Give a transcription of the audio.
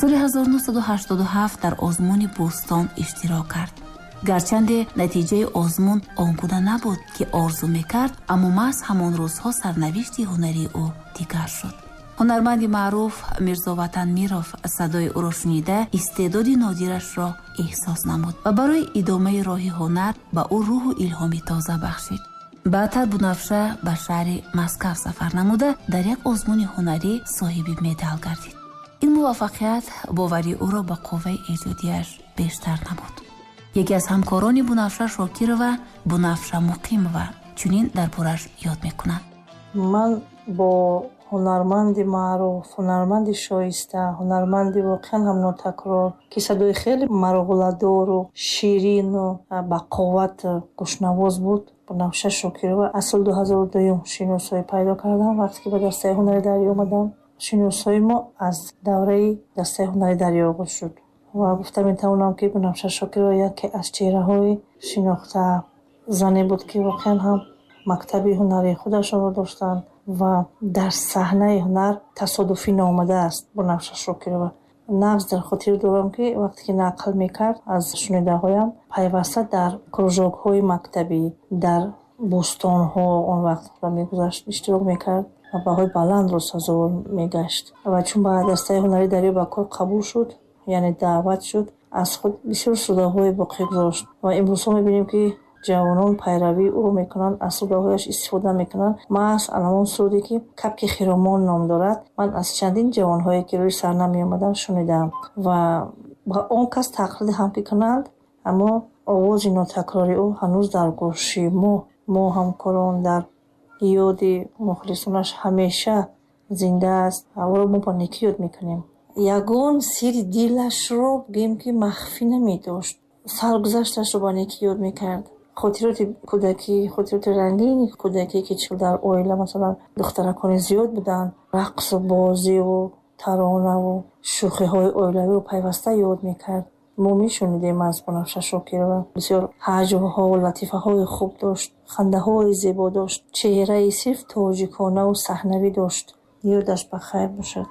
Соли 1987 дар озмуни Бӯстон иштирок кард. Гарчанде натиҷаи озмун он гуна набуд, ки орзу мекард, аммо маҳз ҳамон рӯзҳо сарнавишти ҳунарии ӯ дигар шуд. Ҳунарманди маъруф Мирзоватан Миров садои ӯро шунида, истеъдоди нодирашро эҳсос намуд ва барои идомаи роҳи ҳунар ба ӯ рӯҳу илҳоми тоза бахшид. Баъдтар Бунафша ба шаҳри Москав сафар намуда, дар як озмуни ҳунарӣ соҳиби медал гардид. Ин муваффақият боварии ӯро ба қувваи эҷодияш бештар намуд. Яке аз ҳамкорони Бунафша Шокирова, Бунафша Муқимова, чунин дар бораш ёд мекунад. Ман бо ҳунарманди маъруф, ҳунарманди шоиста, ҳунарманди воқеан ҳам нотакрор, ки садои хеле марғуладору ширину бақувват гӯшнавоз буд, Бунафша Шокирова, аз соли 2002 шиносоӣ пайдо кардам. Вақте ки ба дастаи ҳунари Дарё омадам, шиносоии мо аз давраи дастаи ҳунари Дарё оғоз шуд. Ва гуфта метавонам, ки Бунафша Шокирова яке аз чеҳраҳои шинохта зане буд, ки воқеан ҳам мактаби ҳунарии худашонро доштанд ва дар саҳнаи ҳунар тасодуфӣ наомадааст Бунафша Шокирова. Нағз дар хотир дорам, ки вақте ки нақл мекард, аз шунидаҳоям, пайваста дар кружокҳои мактабӣ, дар бӯстонҳо он вақт мегузашт, иштирок мекард ва баҳои баландро сазовор мегашт. Ва чун ба дастаи ҳунарии Дарё ба кор қабул шуд, яъне даъват шуд, аз худ бисёр судаҳое боқӣ гузошт. Ва имрӯзҳо мебинем, ки ҷавонон пайравии ӯро мекунанд, аз судаҳояш истифода мекунанд. Маҳз анамон суруде, ки «Капки хиромон» ном дорад, ман аз чандин ҷавонҳое, ки рӯи саҳна меомаданд, шунидам ва ба он кас тақлид ҳам ки кунанд, аммо овози нотакрори ӯ ҳанӯз дар гӯши мо, мо ҳамкорон, дар ёди мухлисонаш ҳамеша зинда аст. Ӯро мо бо некӣ ёд мекунем. Ягон сири дилашро, гӯем, ки махфӣ намедошт, саргузашташро ба некӣ ёд мекард. Хотироти кӯдакӣ, хотироти рангини кӯдакӣ, ки чӣ дар оила, масалан, духтаракони зиёд буданд, рақсу бозиву таронаву шӯхиҳои оилавиро пайваста ёд мекард. Мо мешунидем аз Бунафша Шокирова. Бисёр ҳаҷвҳо, латифаҳои хуб дошт, хандаҳои зебо дошт, чеҳраи сирф тоҷиконаву саҳнавӣ дошт. Ёдаш ба хайр бошад.